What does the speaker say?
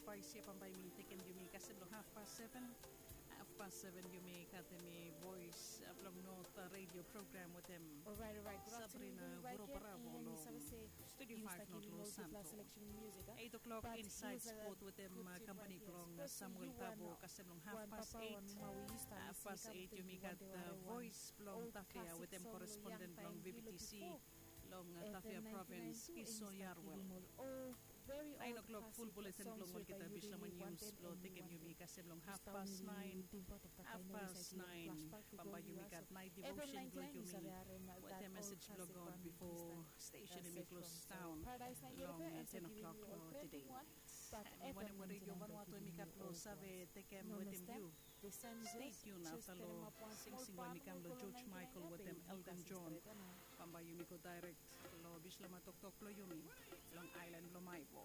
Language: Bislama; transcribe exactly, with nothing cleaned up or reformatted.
Pais ya bambae mi tekem yumi kasem long hafpas seven. Hafpas seven yumi katem i voes blong North Radio program wetem Sabrina Vuroparavo long Studio five North Los Santos. Eight o'clock Inside Sport wetem kampani blong Samuel Tabo kasem long hafpas eight. Hafpas eight yumi gat voes blong Tafea wetem koresponden blong VBTC long Tafea provins Iso Yarwel. Naen o'klok ful buletin blong olgeta bishlama nius blong tekem yumi kasem long hafpas naen. Hafpas naen bambae yumi gat naet devotion blong yumi wetem mesej blong God bifo stesen em i klos daon long ten o'klok long tede. Em i wanem we redio Vanuatu em i gat blong save tekem wetem yu. Stay tuned afta long singsing we mi kam long George Michael wetem Elton John. Bambae yumi go daerek long bishlama toktok blong yumi long aelan blong Maivo.